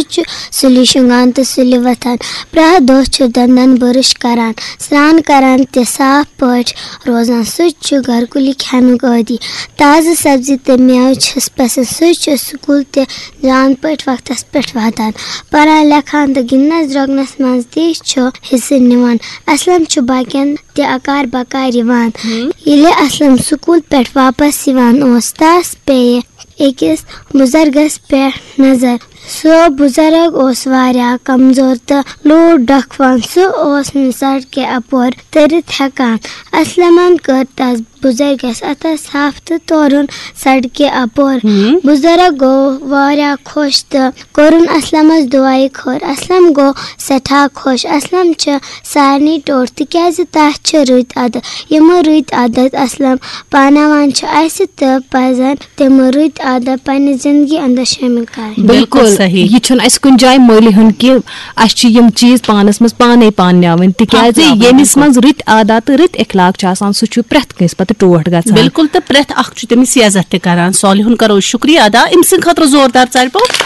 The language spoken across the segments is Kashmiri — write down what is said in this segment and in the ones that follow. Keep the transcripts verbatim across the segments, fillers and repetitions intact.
چھُ سُلہِ شۄنٛگان تہٕ سُلہِ وۄتھان۔ پرٛٮ۪تھ دۄہ چھُ دَنٛدَن بُرُش کران، سرٛان کران تہٕ صاف پٲٹھۍ روزان۔ سُہ چھُ گرِکُلی کھٮ۪نُک عٲدی۔ تازٕ سبزی تہٕ مٮ۪وٕ چھِس پسنٛد۔ سُہ چھُ سکوٗل تہِ جان پٲٹھۍ وقتس پٮ۪ٹھ واتان۔ پران، لیکھان تہٕ گِنٛدنس درٛوٚکنس منٛز تہِ چھُ حصہٕ نِوان۔ اسلم چھُ باقین تہِ اکار بکار یِوان۔ ییٚلہِ اسلم سکوٗل پٮ۪ٹھ واپس یِوان اوس، تس پیٚیہِ أکِس بُزرگس پٮ۪ٹھ نظر۔ سُہ بُزرگ اوس واریاہ کمزور تہٕ لوٗٹھ ڈکھوان۔ سُہ اوس نہٕ سڑکہِ اپور تٔرِتھ ہٮ۪کان۔ اسلمن کٔر تس بُزرگس اتھس تھپھ تہٕ تورُن سڑکہِ اپور۔ بُزرگ گوٚو واریاہ خۄش تہٕ کوٚرُن اسلمس دُعایہِ خٲر۔ اسلم گوٚو سٮ۪ٹھاہ خۄش۔ اسلم چھِ سارنٕے ٹوٹھ، تِکیازِ تس چھِ رٕتۍ عادت۔ یِم رٕتۍ عادت اسلم پاناوان چھِ، اسہِ تہِ پزن تِم رٕتۍ عادت پننہِ زندگی اندر شٲمِل کرٕنۍ۔ بِلکُل صحیح۔ یہِ چھُنہٕ اسہِ کُنہِ جایہِ مٔلۍ ہیوٚن کہِ اسہِ چھِ یِم چیٖز پانس منٛز پانے پانناوٕنۍ، تِکیازِ اپناوٕنۍ، ییٚمِس بِلکُل۔ منٛز رٕتۍ عادت تہٕ رٕتۍ اخلاق چھِ آسان، سُہ چھُ پرٛٮ۪تھ کٲنٛسہِ پتہٕ ٹوٹھ گژھان۔ بِلکُل، تہٕ پرٛٮ۪تھ اکھ چھُ تٔمِس یہِ عزت تہِ کران۔ صالحُن کرو شُکریہ ادا، أمۍ سٕنٛدِ خٲطرٕ زوردار ژَرِ پوٚپ۔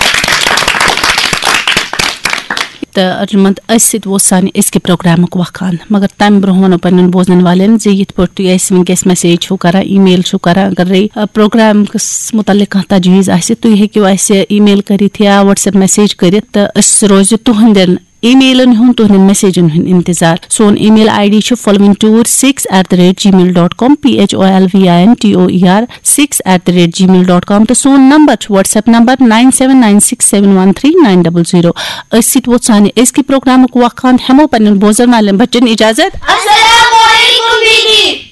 تہٕ ارجُمنٛد، أتھۍ سۭتۍ ووت سانہِ أزکہِ پروگرامُک وقان، مگر تَمہِ برونٛہہ وَنو پنٛنٮ۪ن بوزَن والٮ۪ن زِ یِتھ پٲٹھۍ تُہۍ اَسہِ وٕنکیٚس میسیج چھِو کران، ای میل چھِو کران، اگرے، آ، پروگرامَس مُتعلِق کانٛہہ تجویٖز آسہِ، تُہۍ ہیٚکِو اَسہِ ای میل کٔرِتھ یا وٹسایپ میسیج کٔرِتھ، تہٕ أسۍ روزِ تُہنٛدٮ۪ن ای میلن ہُنٛد، تُہنٛدٮ۪ن میسیجن ہُنٛد انتظار۔ سون ای میل آئی ڈی چھُ following tour six eight the rate Gmail dot com, P H O L V I N T O U R six at the rate gmail dot com، تہٕ سون نمبر چھُ WhatsApp number nine seven nine six seven one three nine double zero۔ أتھۍ سۭتۍ ووت سانہِ أزکہِ پروگرامُک وقان، ہٮ۪مو پننٮ۪ن بوزن والٮ۪ن بچن اجازت۔ السلام علیکم دیدی۔